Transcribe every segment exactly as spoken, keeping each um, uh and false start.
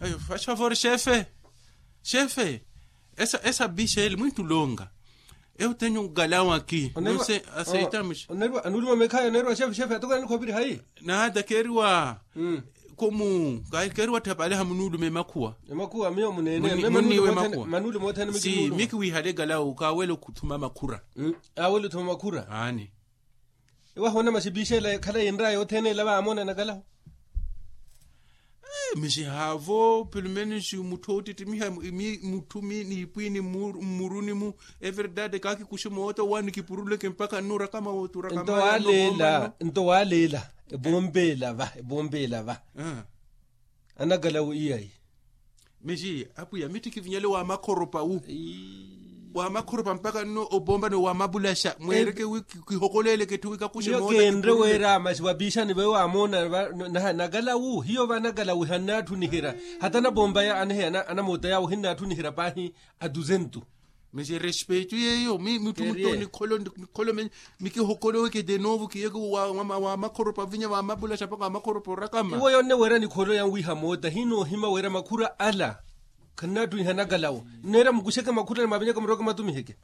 Ayo fasi favori xefe. Xefe, esa bixa ele mwintu longa. Eu tenho um galão aqui. Anuuluma mekhaya oneeriwa xefe xefe atokona nikhoopiri hayi? Nada keeriwa. Komu keeriwa tthapale hamunuulume makhuwa. Emakhuwa miyo munene. Manuulume othene. Si mikiwihale galão kaawela othuma makhura. Aawela othuma makhura. Aani. Ewahoona masi piixela ekhalayi enraya othene ela vaamoona nakalaho. Misi haavo pelumenisi mutthu oottittimiha mutthu mi niipwiini mmuruni-mu. Everdade kaakikuxe moota owaani kipuruleke mpakha nnuurakama wooturakama. Nto waaleela. Nto waaleela. Epompeela va epompeela va. Anakalawu iyayi. Misi apwiya mitthikivinyale wa makhoropa wu. Wa makhoropa mpakha nno opompani wa mapulaxa mweereke wi kihokoleeleke etthu wi kakuxe moota. Kenre weera masi wa piixani vawe waamoona. Nakalawu hiyo va nakalawu hannatthuniherya. Hata anapompaya anamoota yaawe ohinnaatthuniherya paahi. Atuzentu. Misi respeito yeeyo mi mutthu mutthu nikholo nikholo mikihokolowe kete noovo kiyeke wa makhoropa vinya wa mapulaxa mpakha wa makhoropa orakama. Iwo yonne weera nikholo yanwiiha moota hinoohima weera makhura ala. Khannaatthuniha nakalawo nneera mukuxeke makhura ni mwavinyeke muroke mwatumiheke.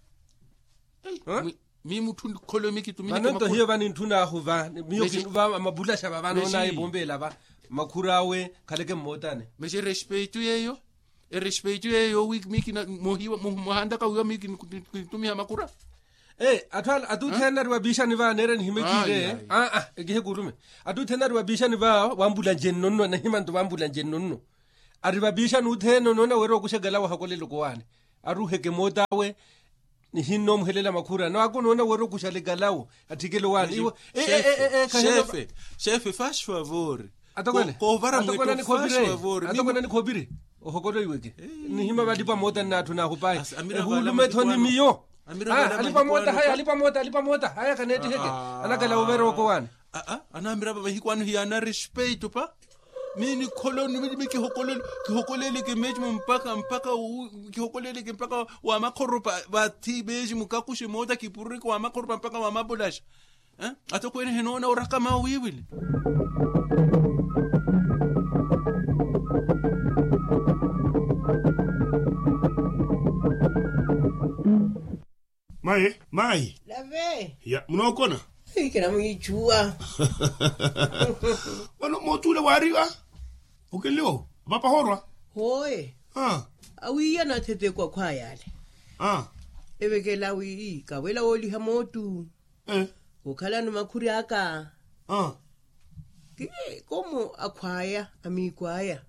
Mi mutthu nikholo mikitumiheke makhura. Vano nto hiyo va nintthunaahu va miyo kinva mapulaxa va vanoonaya epompeela va. Makhura awe khaleke mmootane. Misi respeito yeeyo. Erespeito yeeyo wi mi kina mohiwa mohandaka wiiwa mi kinitumiha makura. Atthu ala atuthene ari vapiixani va neera nihimekire. Aa ekihe kurume. Atuthene ari vapiixani va wambulanjeni nonno nahima nto vambulanjeni nonno. Ari vapiixani uthene onoona wira okuxekela wahakolela okowaani. Aruheke moota awe. Nihinnoomuhelela makhura nawe akonoona wira okuxalekalawo. Atthikele owaani iwe. Xefe. Xefe fasi favori. Atokwene. Atokwene nikhoopire. Ohokolo iweke. Nihima valipa moota nnaatthunaahu pahi. Ehuulume ethoni miyo. Alipa moota haya alipa moota alipa moota haya kaneettiheke. Anakalawo veera okowaani. Anamirapa mahiku ano hiyaana respeito pa. Mi nikholoni mi kihokoleleke meecimu mpakha mpakha kihokoleleke mpakha wa makhoropa. Vathi meecimu kakuxe moota kipurureke wa makhoropa mpakha wa mapulaxa. Atokwene henoona orakama wiiwili. Mayi mayi. Lave. Ya munookona. Kinamuyichuwa. Vano mootule waariwa. Okenliwo vapahorwa. Hoye. Awiiya natheteku akhwaya ale. Evekela wi kawela wooliha mootu. Okhalano makhuri aka. Ki komo akhwaya amiiko aya.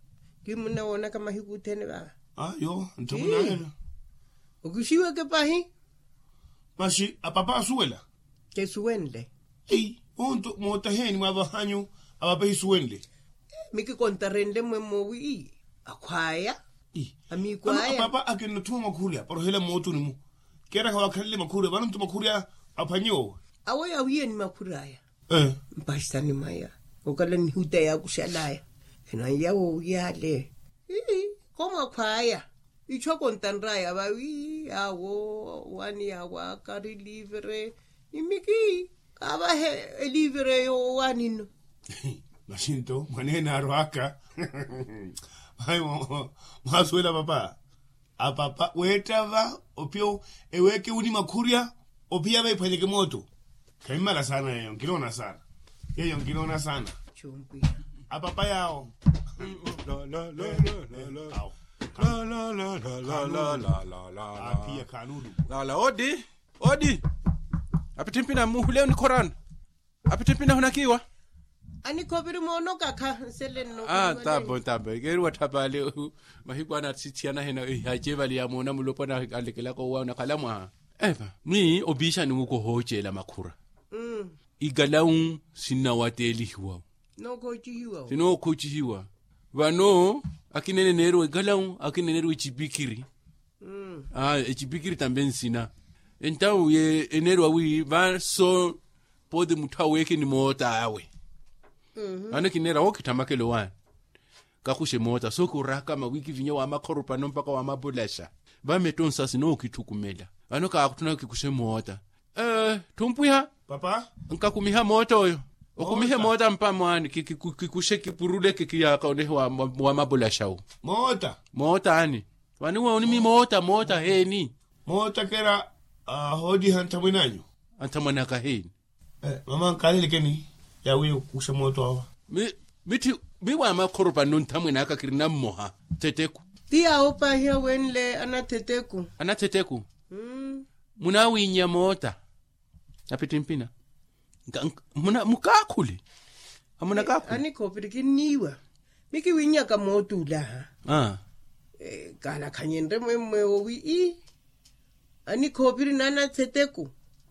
Kimunawoonaka mahiku othene vava. Ayo. Ntthamunahela. Okixiweke pahi. Masi apapa asuwela. Kesuwenle. Ei onto mootaheeni mwavahanyu. Apapa ehisuwenle. Mikikontarenle mmwe mmowi akhwaya. Amiiko aya. Apapa akinnotthuwa makhuri aparohela mmootuni-mu. Keera khawakhalele makhuri vano nto makhuri aphwanye owe. Awo yawiye ni makhuri aya. Mpaxisani mwaya okala nihuta yaakuxalaya. Eno anyawo wiyale. Ii komo akhwaya. Icho kontanraya vawi awo wani yawaaka ri livre. Ni miki kaavahe elivre eyo wani nno. Maxinto mwaneene arwaka. Mayi mwasuwela papa. Apapa weettava ophiya eweeke wuni makhurya. Ophiya vaiphwanyeke mooto. Khammala saana yeeyo nkinoona saana. Yeeyo nkinoona saana. Apapa yaawo. Aphiya khanuulu. Lala odi. Odi. Apitthi mpina mmuhule onikhorana. Apitthi mpina hunakiiwa. Anikhoviri moonokakha nsele nno. Tambo tambo ekeeriwa tthapale. Mahiku ana sithiyana hena ihace vale yamoona mulopwana alekelaka owa onakhala mwaha. Eva mwi opiixani wuko ohooceela makhura. Ikalawu sinnawateelihiwa. Sinookhocihiwa. Vano akina eneneeriwa ikalawu akina eneeriwa ecipikiri. Ecipikiri tambe nsina. Entawu ye eneeriwa wi vaso pooti mutthu aweeke ni moota awe. Vano kineera wookitthamakela owaani. Kakuxe moota sooki orakama wi kivinye wa makhorupano mpakha wa mapulaxa. Vametto nsasi nookitthukumela. Vano kaakutthuna kikuxe moota. Ee ttumpwiha. Papa. Nkakumiha moota oyo. Okumihe moota mpamwaani kikuxe kipuruleke kiyaaka onehe wa mapulaxawu. Moota. Moota ani? Vani wooni mi moota moota heeni? Moota kera. Hooliha nthamwene anyu. Anthamwene aka heeni? Mama nkalelekeni yawi okuxa mooto awa. Mitthi mi waamakhoro panno nthamwene aka kirina mmoha. Thetheku. Ti yaawopaahiya wenle anathetheku. Anathetheku. Munaawinya moota. Apittimpina. Mukaakhule. Amunakaakhule. Anikhoopiri kinniiwa. Mi kiwinyaka moota ulaha. Kaalakhanye nremwemmwe owi ii. Anikhoopiri n'anathetheku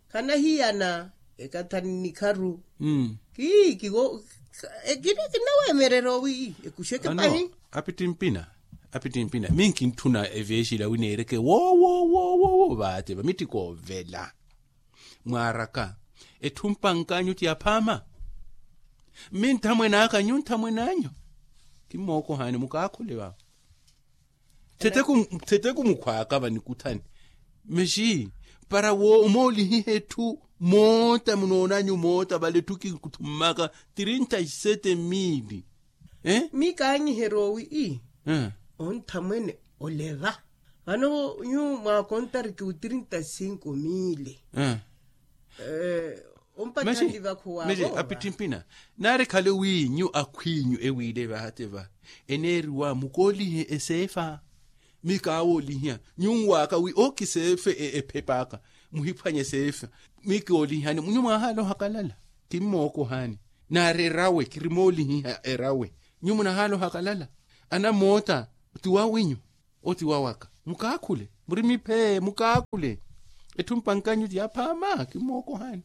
khanahiyana. Ekathani nikharu. Kii kiwo. Ekina kinaweemererya owi ii ekuxeke pahi. Apittimpina. Apittimpina mi nkintthuna eveexila wineereke woowo woowo woowo vaate va mitthi koovela. Mwaaraka. Etthu mpankanyu ti aphaama. Mmi nthamwene aka nyu nthamwene anyu. Kimmookohaani mukaakhule vava. Thetheku mukhwaaka vanikuthani. Mexi para wo omoolihiha etthu moota munoonanyu moota vale etthu kinkuthummaka trinta y sete mili. Mi kaanyiherya owi ii onthamwene oleva. Vano nyu mwaakontariki u trinta y cinco mili. Ompatthani vakhuwa vova. Apittimpina. Naari khale wi nyu akhw'inyu ewiile vaate va eneeriwa mukoolihe eseefa. Mi kaawoolihiha nyunwaaka wi okiseefe ephepaaka. Muhiphwanye seefa. Mi koolihihani nyu mwaahaala ohakalala. Kimmookohaani. Naari erawe kirimoolihiha erawe. Nyu munahaala ohakalala. Anamoota. Ti wawinyu. Oti wawaka mukaakhule. Muri miphee mukaakhule. Etthu mpankanyu ti aphaama kimmookohaani.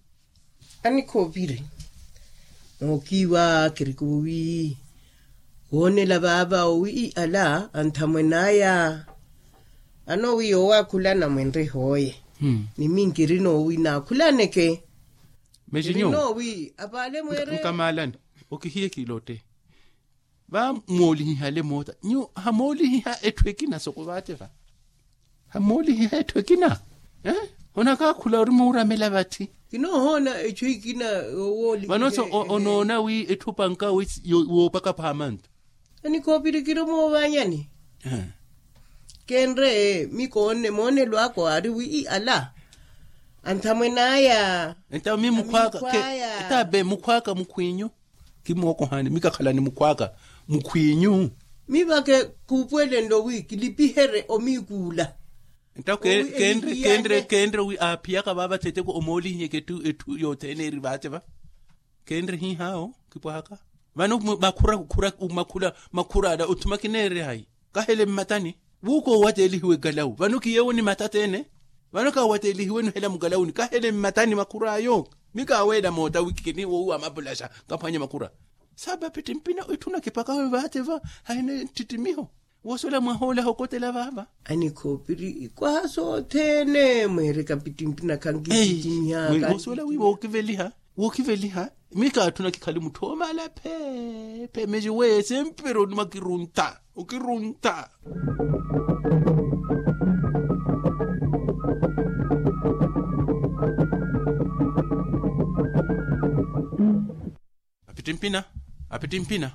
Anikhoopiri. Nookiiwa kirikuuwi woonela vaava owi ala anthamwene aya. Ano wi yoowakhulana mwenre hooye. Ni minkiri noowi naakhulaneke. Mexinyo. Nkamalani. Okihiye kilotte. Vamoolihihale moota nyu hamoolihiha etthu ekina soko vaate va. Hamoolihiha etthu ekina. Onakaakhula ori muuramela vatthi. Kinoohoona etthu ekina. Vano so onoona wi etthu panka woopaka phaama nto. Anikhoopiri kiri omoovanyani. Kenre mi koonne moonelo aka aari wi ala anthamwene aya. Entawe mi mukhwaaka. Etabe mukhwaaka mukhwinyu. Kimookohaani mi kakhalani mukhwaaka mukhwinyu. Mi vake kuupuwelenlo wi kilipiherye omiikuula. Ntawo kenre kenre wi aaphiyaka vaava thetheku omoolihiyeke etthu yothene eri vaate va. Kenre hihaawo kipwahaka. Vano makhura makhura makhura ala othuma kineererya hayi? Kahele mmatani. Wuuka owateelihiwa ekalawu vano kiyeewo ni matateene. Vano kaawateelihiwenu hela mukalawuni kahele mmatani makhur'ayo. Mi kaaweela moota wikikeni woowi wa mapulaxa. Kaphwanye makhura. Saapapittimpina etthu nakipakawe vaate va. Haine nttittimiho. Woosola mwahoolaha okotela vaava. Anikhoopiri ikwaha sothene mweereka pittimpina khankittimiha. Woosola wi wookiveliha. Wookiveliha. Mi kaatthuna kikhali mutthu oomala pheephe mexi weye sempre onuma okirunta okirunta. Apittimpina. Apittimpina.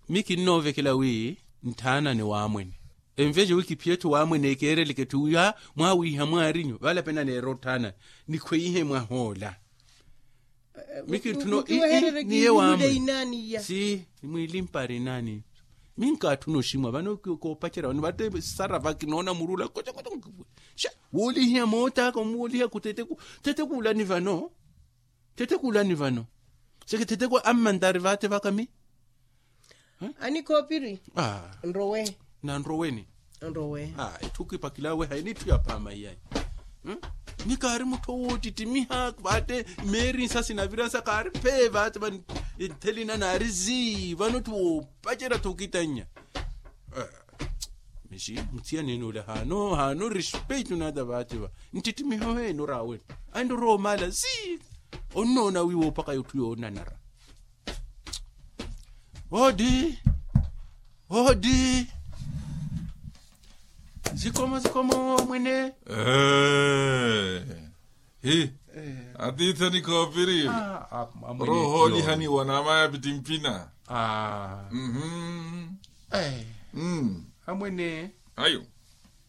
Mi kinnoovekela wi ntthaanane waamwene. Envexe wi kiphiye etthu waamwene ekeereleke etthu wi mwaawiiha mwaarinyu vale apena neera otthaana. Nikhweihe mwahoola. Mi kintthuna ii niye waamwene. Si nimwiilimpari inaani. Mi nkaatthuna oximwa vano koopacerya vano vate sara va kinoona murula kocokoco. Woolihiha moot'aka omuwooliha kuthetheku. Thetheku ulani vano. Thetheku ulani vano. Seke thetheku ammantari vaate vaka mi. Anikhoopiri. Nrowe. Nanroweni. Nrowe. Etthu kipakilaawe hayi n'itthu ya phaama iyayi. Ni kaari mutthu wootittimiha vaate meeri nsa sinaviransa kaari phee vaate va. Nthelina naari zii vano etthu woopacerya-tho okitannya. Mixi muthiyani ene ole haano haano respeito nata vaate va. Nttittimiho heene oraawe. Anrowa omaala zii. Onnoona wi woopaka yotthu yoonanara. Oodi. Oodi. Zikomo zikomo mwene. Hi. Atiithani khoopiriwe. Roho olihaniwa naamaya pitimpina. Amwene.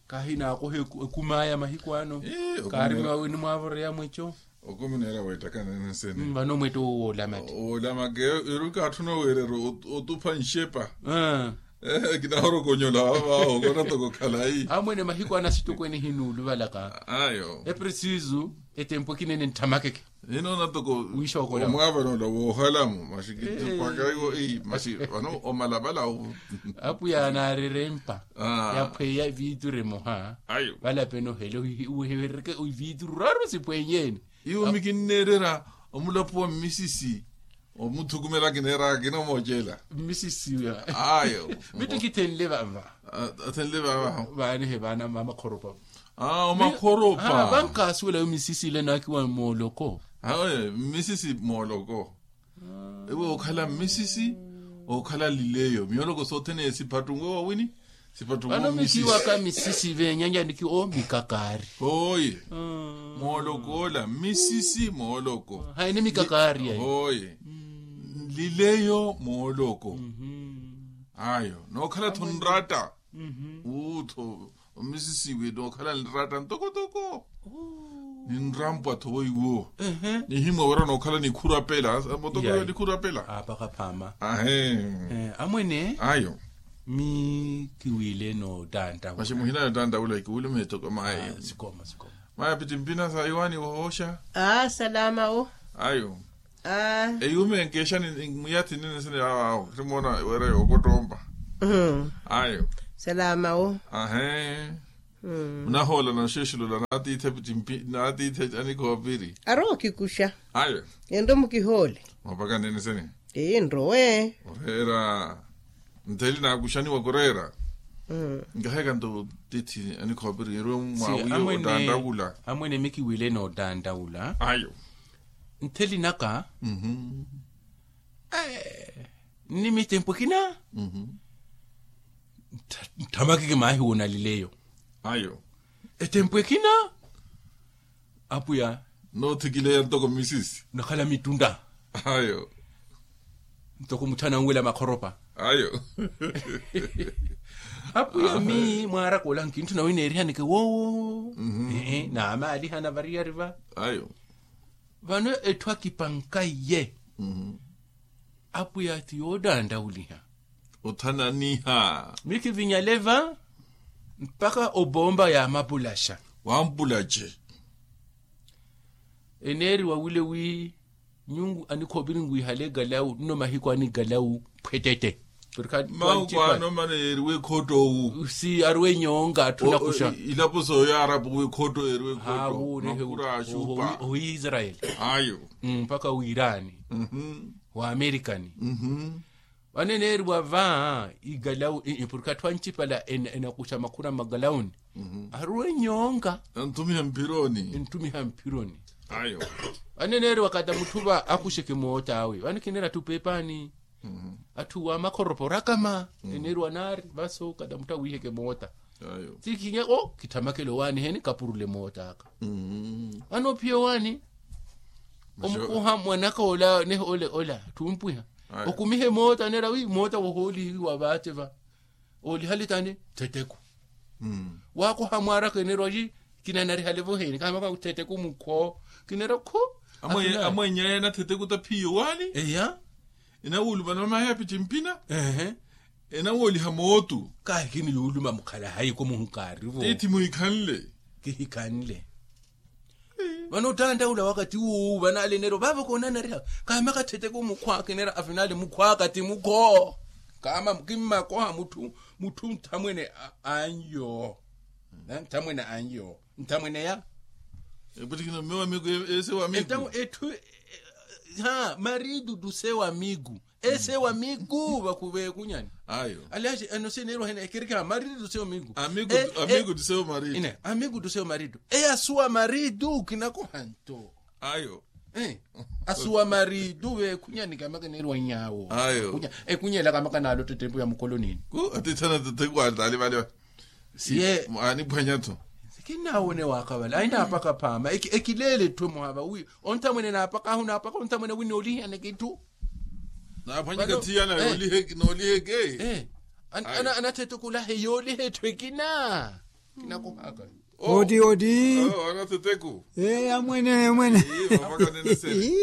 Kahi naakoha ekumaya mahiku ano. Kaari mwawe ni mwaavoreya mweco. Okumi neera weettaka nene nsene. Vano omwetto owo woolamati. Woolamaka. Eruka atthu nooweererya otupha nxepa. Kinahorokonyola vavaaho kona toko khalayi. Amwene mahiku anasitokweene hinuuluvalaka. Ayo. Epresisu ettempu ekinene ntthamakeke. Hinoona toko. Wiixokola omwaavanoola woohalamu masi kittupaka iwo. Masi vano omalavala. Apwiya anaarerempa yaphweya eviituru emoha. Ayo. Valapeni ohela uhiwerereke oviituru raru sipwenyeni. Iwo mikinneererya omulapo wa mmisisi. Omuthukumela kineeraka kinoomocela. Mmisisi ayo. Mittu kithenle vava. Athenle vava. Vaanihe vaana mamakhoropa. Omakhoropa. Vankaasuwela yo mmisisi ile naakiwa mooloko. Mmisisi mooloko. Ewe okhala mmisisi okhala lileyo myoloko sothene siphattunwe wawini. Siphattunwe mmisisi. Vano mikiwaka mmisisi veenyanya niki o mikakaari. Oye. Mooloko ola mmisisi mooloko. Hayi ni mikakaari ayi. Oye. Lileyo mooloko. Ayo nookhala tho nratta. Uutho. Omisisiwe nookhala nratta ntokotoko. Ninrampwa tho weiwo. Nihimwa wira nookhala nikhurapela. Motoko yo nikhurapela. Apaka phama. Ahe. Amwene. Ayo. Mi kiwile nootantaula. Masi muhina nootantaula kiwile meetoko mayo. Sikoma sikoma. Maya pitimpina sa iwani wahooxa. Salama wo. Ayo. Eyuume nkeexani mwiyathi nini sini yaawaawo khimoona wira yookottompa. Ayo. Salama wo. Ahe. Munahoola noxeexulola naatiithe pitimpina naatiithe anikhoopiri. Arowa okhikuxa. Ayo. Enrowe mukihoole. Mapaka nini sini. Enrowe. Oreera. Ntheli naakuxaniwa kureera. Nkahekanta ottithi anikhoopiri erwe mwaawiyo otantaula. Amwene mikiwile nootantaula. Ayo. Ntheli naka. Nni mittempu ekina. Ntthamakeke maahi woonalileyo. Ayo. Ettempu ekina. Apwiya. Noothikileya ntoko mmisisi. Nakhala mittuntta. Ayo. Ntoko mutthu ananwela makhoropa. Ayo. Apwiya mi mwaaraka ola nkintthu nawe neerihaneke woowo. Naamaalihana variyari va. Ayo. Vano etthu akipankaiye. Apwiya ti yootanttauliha. Othananiha. Mikivinyale va mpaka obomba yaamapulaxa. Wampulaxe. Eneeriwa wile wi nyungu anikhoopiri nwihale ekalawu nno mahiku ani ekalawu phwetete. Mahuku ano mano yeeriwe ekhotto owu. Si aruwe nyonga atthu nakuxa. Ilapo sooyo arapuwe ekhotto yeeriwe ekhotto. Makura axupa ohiisarayeli. Ayo. Mpaka wiirani. Waamerikani. Vano eneeriwa va ikalawu porke atthu ancipala enakuxa makhura mmakalawuni. Aruwe nyonga. Enttumiha mphironi. Enttumiha mphironi. Vano eneeriwa kata mutthu va akuxeke mootta awe vano kineera atthu peepaani. Atthu wa makhoropa orakama. Eneeriwa naari vaso kata mutthu awiiheke mootta. Ti kinya o kitthamakele owaani heni kapurule moott'aka. Vano ophiya owaani omukuha mwanaka ola nehe ole ola ttumpwiha. Okumihe mootta neera wi mootta wohoolihiwa vaace va. Oolihale tani ttetteko. Waakoha mwaaraka enerwa yi kinanarihale voheni kahamaka ttetteko mukhwo. Kinera khu. Amwenya yena ttetteko ta phiyo waani. Eya. Enawuluma namaya pitimpina. Enawooliha mootu. Kahi kini yuuluma mukhala hayiko muhukaarivo. Tiithi muhikhanle. Kihikhanle. Vano ottanttaula wakati wuuwu vanaaleneeryo vaavo koonanariha. Kaamaka ttetteko mukhwa akinera afinale mukhwa akati mukho. Kaama kimmakoha mutthu mutthu nthamwene. Anyo nthamwene anyo nthamwene ya. Eputtikina mme wa miku ese wa miku etthu. Ha maridu tuse wa miku. Ese wa miku vakuve kunyani. Ayo. Aliaxi eno sineerwa hene ekirikira maridu tuse wa miku. Amiku tuse wa maridu. Ine amiku tuse wa maridu eya suwa maridu kinakohanto. Ayo. Asuwa maridu vekhunyani kamaka neerwa nyaawo. Ayo. Ekunyela kamaka naalo ttettempu ya mukolonini. Ku atithana ttettempu ataali vale. Siye aniphwanya-tho. Kinnaawone waakavala ayi naapaka phaama ekileele etthu emuhava wi onthamwene naapaka ahu naapaka onthamwene wi noolihiyaneke itthu. Naaphwanyika thiyana nooliheke. Anathethe kulahe yooliha etthu ekina. Kinakohaka. Oti oti. Anathethe ku. Amwene amwene.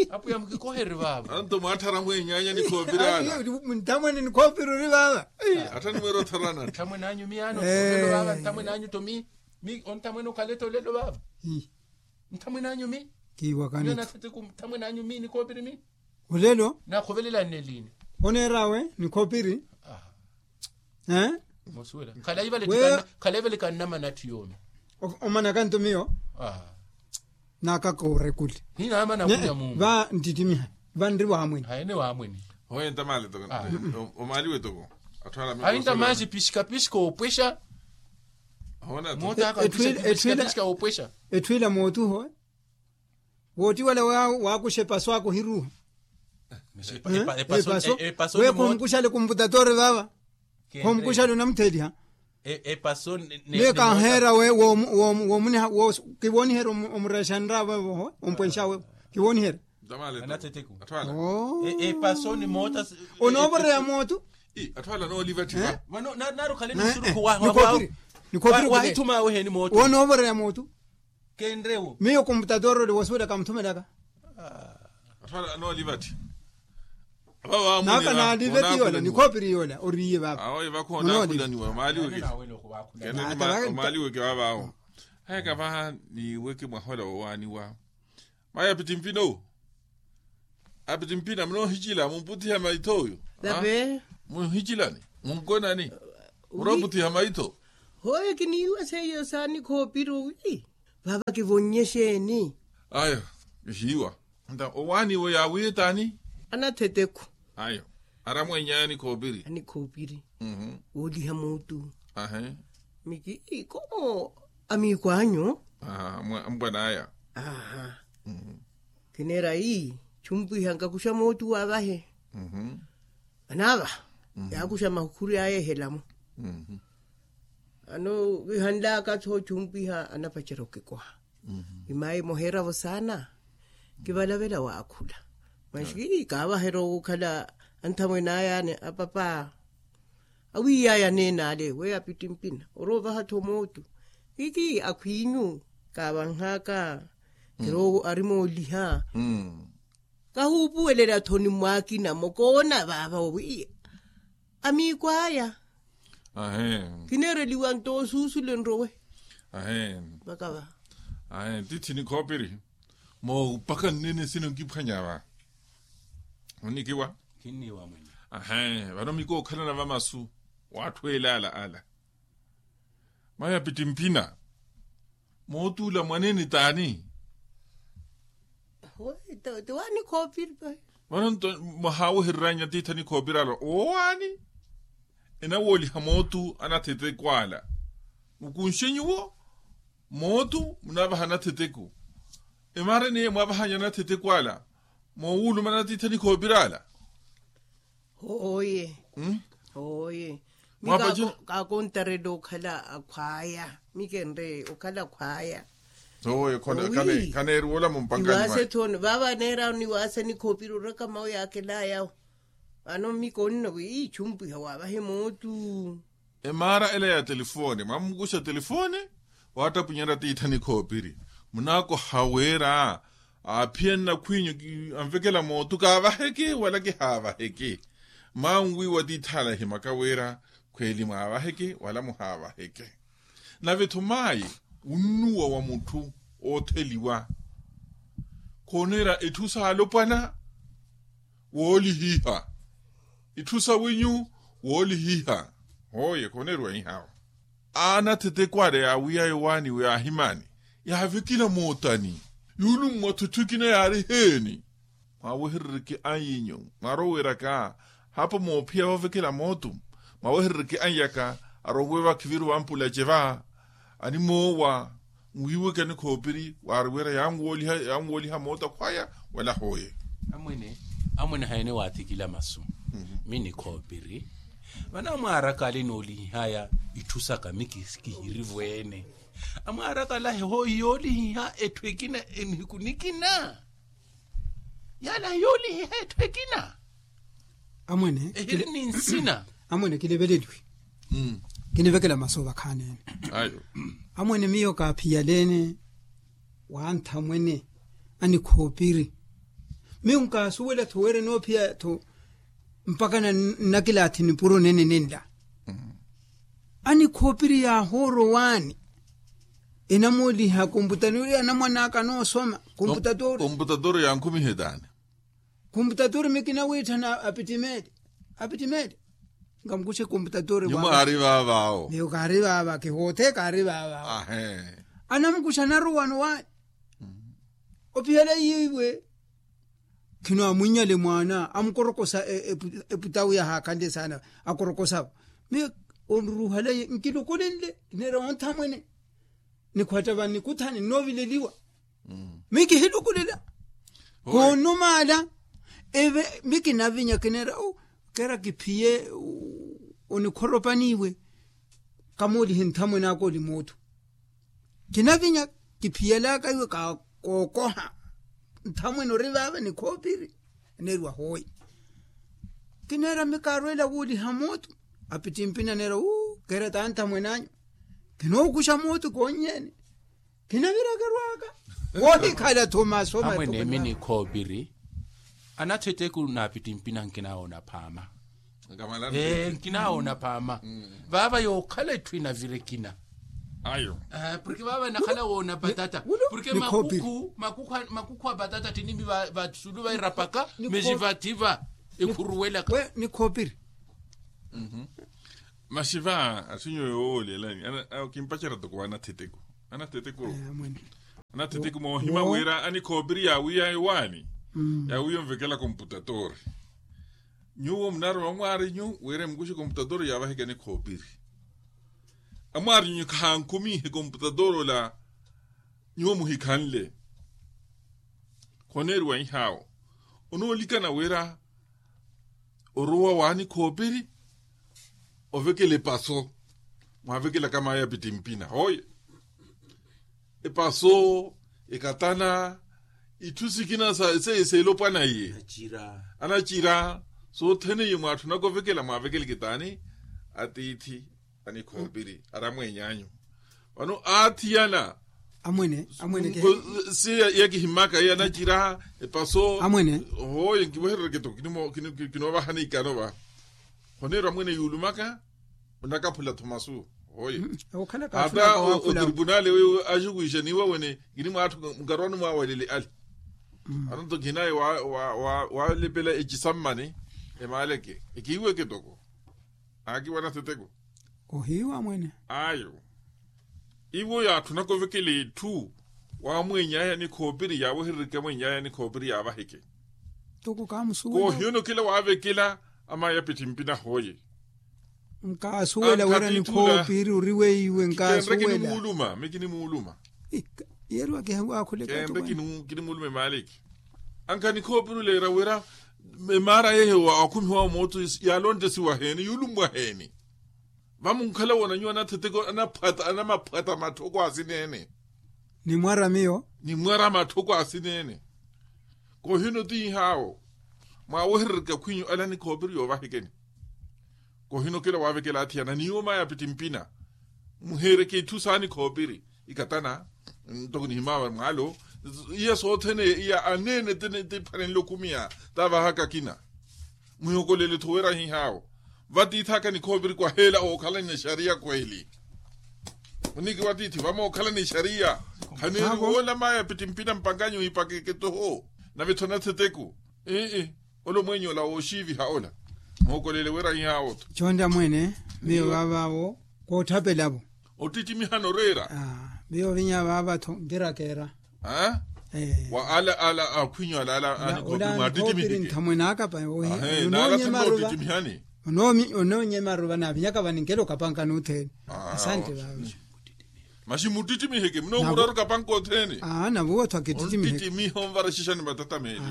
Apo yamukikoheri vava anto mwatthara mwenyanya nikhoopirana. Nthamwene nikhoopiruri vava. Attha nimweera ottharana nthamwene anyu mi ano. Vava nthamwene anyu to mi mi onthamwene okhaletta olelo vava. Nthamwene anyu mi kiiwakani. Nthamwene anyu mi nikhoopiri mi. Olelo nakhovelelani neliini. Oneerawe nikhoopiri. Mosuwela khalaivale. Khalaivale kannamana atthu yoomi. Omanaka nto miyo. Naakaka orekuli. Hinaamana kunya mungu va nttittimiha. Vanri waamwene. Haene waamwene. Hoye ntamale toko. Omaaliwe toko. Ahinta maaxi pixika pixika oopwexa. Moota aka pixika pixika oopwexa. Etthu ila mootu hoye. Wooti wala waakuxa epaso ako hiruuha. Epaso. Weekhumukuxale kumputatori vava. Khumukuxale onamutheeliha. Miyo kanheera we. Kiwooniherya omureexa nraavo evo ompwenxa wevo. Kiwooniherya. Onoovoreya mootu. Atthu ala nooliva ttipa. Vano naari okhale ni nsurukhu. Waahithuma awe heni mootu. Onoovoreya mootu. Kenrewo miyo kumputatori ole wasuwelaka muthumelaka. Atthu ala nooliva ttipa. Naaka naalive ti yoola nikhoopiri yoola oriiye vava. Awo evakho onaakhulaniwa omaaliweke. Omaaliweke vava awo. Haya kavaha niweke mwahola wowaaniwa. Mayi apittimpina owo. Apittimpina munoohicila mumputtiha maitho oyo. Munhicilani munkonani. Murooputtiha maitho. Hoye kiniiwa seiyo saanikhoopiri owi. Vava kivonnye xeeni? Ayo. Ihiiwa. Nta owaaniwe yaawiye taani? Anatheteko. Ayo. Aramwenyaya nikhoopiri. Anikhoopiri. Wooliha muutu. Ahe. Miki ikomo amiiko anyu. Ampwan'aya. Aha. Kineera ii chumpwiha nkakuxa mootu waavahe. Anaavaha. Yaakuxa makhuri aya ehelamu. Ano kihanlaka tho chumpwiha anapacerya okikoha. Imayi moheeravo saana. Kivalavela waakhula. Maxi kaavaherya okhala anthamwene aya ani apapa. Awiiyaya aneene ale weyo apittimpina oroovaha-tho mootu. Kiki akhwiinyu kaavanhaka. Kiro arimooliha. Kahuupuwelela-tho ni mwaakina mokoona vaava owi. Amiiko aya. Kineereliwa nto osuusule nrowe. Vakava. Titthi nikhoopiri. Moopaka nnene sino nkiphwanya va. Onikiwa. Vano mikookhalana va masu w'atthu elaala ala. Mayi apittimpina. Mootuula mwaneene taani? Vano nto mwahaawehereryanyu atiithi anikhoopirala owaani? Enawooliha mootu anathetekwala. Mukunxe nyuwo. Mootu munaavaha anatheteku. Emaara eniye mwaavahanya anathetekwala. Moowulumana atiithi anikhoopirala. Hooye. Hooye. Kaakontarela okhala akhwaya mikenre okhala akhwaya. Hooye. Khaneeriwa ola mumpankanyi mwaye. Vaava neerawo niwaasa nikhoopira oraka mawe yaakelaayawo. Vano mikoonno wi ichumpwiha waavahe mootu. Emaara ela ya telefone mwamukuxa telefone. Waattapunyerya tiithi anikhoopiri. Munaakoha wira aaphiya nnakhwiinyu anvekela mootu kaavaheke wala kihaavaheke. Manwiiwa tiithi ala ahimaka wira khweeli mwaavaheke wala muhaavaheke. Nave-tho mayi wunnuwa wa mutthu ootheliwa. Khooneera itthu saalopwana woolihiha. Itthu sawinyu woolihiha. Hooye khooneeriwa ihawa. Aana athetekwale yaawiya yowaaniwe yaahimani yaavekela mootani. Yuulummwa-tho itthu ekina yaari heeni? Mwaaweherereke anyinyu mwaarowiraka hapo moophiya woovekela mootu. Mwaaweherereke anyaka arowe vakhiviru vampulace va animoowa. Nwiiweke anikhoopiri waari wira yanwooliha moota khwaya wala hooye. Amwene amwene haene waathikila masu. Mi nikhoopiri vana mwaaraka ale noolihihaya itthu saka mi kihirivweene. Amwaaraka alahe hooyi yoolihiha etthu ekina enihiku nikina. Yaalahe yoolihiha etthu ekina. Amwene ehiri ni nsina. Amwene kiniveleliwe. Kinivekela masu ovakhaanene. Amwene miyo kaaphiyaleene wanthamwene anikhoopiri. Miyo nkaasuwela-tho wira enoophiya-tho mpakha nnakilaathi nipuro nene nenla. Anikhoopiri yaahoorowaani enamooliha komputatori anamwan'aka anoosoma. Komputatori yankhumihe taani. Komputatori mikina wiitthana apittimeli. Apittimeli nkamukuxe komputatori. Nyumo aari vaavaawo. Miyo kaari vaava kihoothe kaari vaavaawo. Anamukuxa naruwano waani. Opihela iiwe. Khino amwinnyale mwaana amukorokosa eputawu yahaakhanle saana. Akorokosavo miyo oruruhale nkilukulenle kineera onthamwene. Nikhwatta vanikuthani nnoovileliwa. Miyo kihilukulela. Koonumaala eve miyo kinavinya kineera keera kiphiye. Onikhoropaniwe kamoolihe nthamwene aka oli mootho. Kinavinya kiphiyalaka iwe kookoha. Nthamwene ori vaava nikhoopiri. Aneeriwa hooyi. Kineera miyo kaarweela wooliha mootu. Apittimpina aneera uu keera taanthamwene anyu. Kinookuxa mootu koonyeene. Kinavirakerwaka. Woohikhala thomaso amwene emi nikhoopiri. Anathetteku n'apittimpina nkinawoona phaama. Ee nkinawoona phaama. Vaava yookhala etthu inavira ekina. Ayo. Porke vaava enakhala woona patata porke makukhu makukhu a patata ttinimi vasulu vairapaka. Mesi vatthi va ekhuruwelaka. Nikhoopiri. Masi va asinyo yoowolelani kimpacerya toko wa anathetteku. Anathetteku moohima wira anikhoopiri yaawiya ewaani. Yaawiya onvekela komputatori. Nyuwo munarowa mwaarinyu wira emukuxe komputatori yaavaheke anikhoopiri. Amwaarinyu khankhumihe komputatori ola. Nyuwo muhikhanle. Khoneeriwa ihaawo onoolikana wira orowa waani khoopiri. Ovekela epaso mwaavekelaka mayi apittimpina hooye. Epaso ekatana itthu sikina seiyo seelopwana iye. Anacira sothene iye mwaatthunaka ovekela mwaavekeleke taani. Atiithi anikhoopiri aramweeny'anyu. Vano aathiyana amwene amwene si yakihimmaka iye anacira epaso amwene. Hooye nkiweherereke toko kinoovahani ikano va. Khoneerwa amwene yuulumaka onakaphula thomasu. Hooye ata otripunali weyo axukuwixa niiwa wene. Kini mwaatthu nkarwani mwaawelele ale. Anonto khinaye waalepela ecisammani emaaleke ekiiweke toko. Aakiwa anatheteko. Ohiiwa mwene. Ayo iwo yaatthunaka ovekela etthu. Waamweeny'aya nikhoopiri yaaweherereke amweeny'aya nikhoopiri yaavaheke. Toko kaamusuwela koohiyo nokela waavekela. Amaya pittimpina hooye. Nkaasuwela wira nikhoopiri ori weiwe nkaasuwela. Kinimuuluma mi kinimuuluma. Yeeriwa kihewakhuleka. Kinimuuluma emaaliki. Ankha nikhoopiri oleera wira emaara yeeyo waakhumihiwa mooto yaalontesiwa heeni yuulummwa heeni? Vamunkhala woona nyuwo anatheteko anamaphwata matthoko asineene. Nimwara miyo nimwara matthoko asineene. Koohino ti ihaawo mwaaweherereke akhwinyu ale anikhoopiri yoovahekeni. Koohino okela waavekela athiyana niiwo mayi apittimpina muheereke itthu saanikhoopiri. Ikatana ntoko nihimaawa mwaalo iya sothene iya aneene ti phwanenle okhumiya. Tavahaka akina muhiokolele-tho wira hihaawo vatiithaka nikhoopiri kwaheela ookhalani exariya kweli. Muniki watiithi vamookhalani exariya. Khaneeri woola mayi apittimpina mpankanyu ihipakeke toho. Nave-tho natheteku ii. Ola omweenyo ola wooxiiviha ola. Mookolele wira hihaawo-tho. Chonta mwene miyo vaavaawo koothapelavo. Ottittimiha noreera. Miyo ovinya vaava-tho nkirakeera. Wa ala ala akhwinyu ala ala anikhoopiri mwaattittimihe. Nthamwene aka pa ohi. Naala thamwene ottittimiha ni onoonyema aruva naavinyaka vaninkela okapanka nuuthene. Asante vaava. Masi muttittimiheke munoomuraru okapanka othene. Aa navuwa-tho akittittimihe. Onttitimiha onvara exixani matatameli.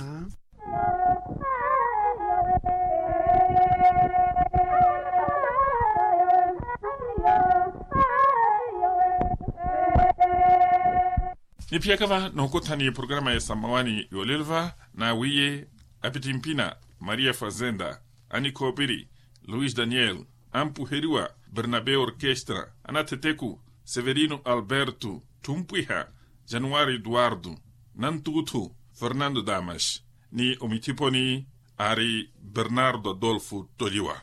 Niphiyaka va nookotha ni programa ya samawani yoolelo va, naawiiye apitimpina maria fazenda, anikhoopiri luis daniel, ampuheriwa bernabe orkestra, anatheteku severino alberto, thumpwiha januari eduardo, nantuuthu fernando damas, ni omithiponi aari bernardo adolfo toliwa.